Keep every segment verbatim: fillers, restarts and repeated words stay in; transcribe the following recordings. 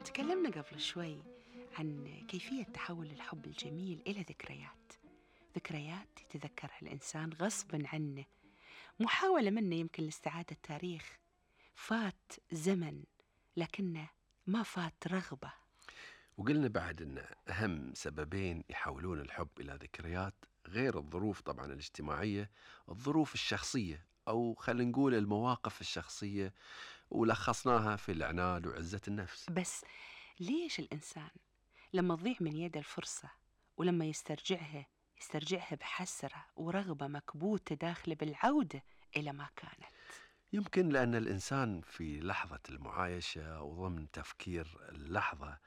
تكلمنا قبل شوي عن كيفية تحول الحب الجميل إلى ذكريات ذكريات يتذكرها الإنسان غصباً عنه، محاولة منه يمكن لاستعادة التاريخ. فات زمن لكنه ما فات رغبة. وقلنا بعد أن أهم سببين يحولون الحب إلى ذكريات غير الظروف طبعا الاجتماعية، الظروف الشخصية أو خلينا نقول المواقف الشخصية، ولخصناها في العناد وعزة النفس. بس ليش الإنسان لما تضيع من يده الفرصة ولما يسترجعها يسترجعها بحسرة ورغبة مكبوتة داخله بالعودة إلى ما كانت؟ يمكن لأن الإنسان في لحظة المعايشة وضمن تفكير اللحظة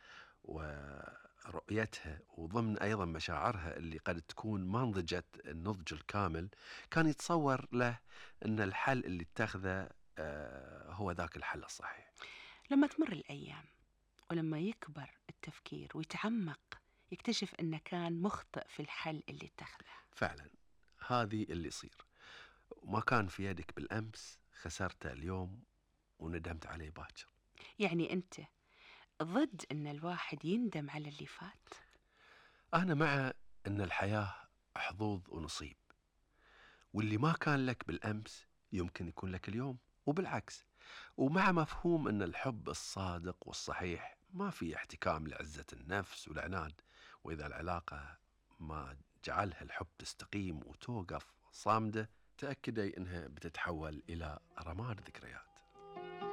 ورؤيتها وضمن أيضا مشاعرها اللي قد تكون ما نضجت النضج الكامل، كان يتصور له أن الحل اللي اتخذه آه هو ذاك الحل الصحيح. لما تمر الأيام ولما يكبر التفكير ويتعمق يكتشف أنه كان مخطئ في الحل اللي اتخذه. فعلا هذه اللي يصير، وما كان في يدك بالأمس خسرته اليوم وندمت عليه باكر. يعني أنت ضد أن الواحد يندم على اللي فات؟ أنا مع أن الحياة حظوظ ونصيب، واللي ما كان لك بالأمس يمكن يكون لك اليوم وبالعكس، ومع مفهوم أن الحب الصادق والصحيح ما في احتكام لعزة النفس والعناد. وإذا العلاقة ما جعلها الحب تستقيم وتوقف صامدة، تأكدي أنها بتتحول إلى رماد ذكريات.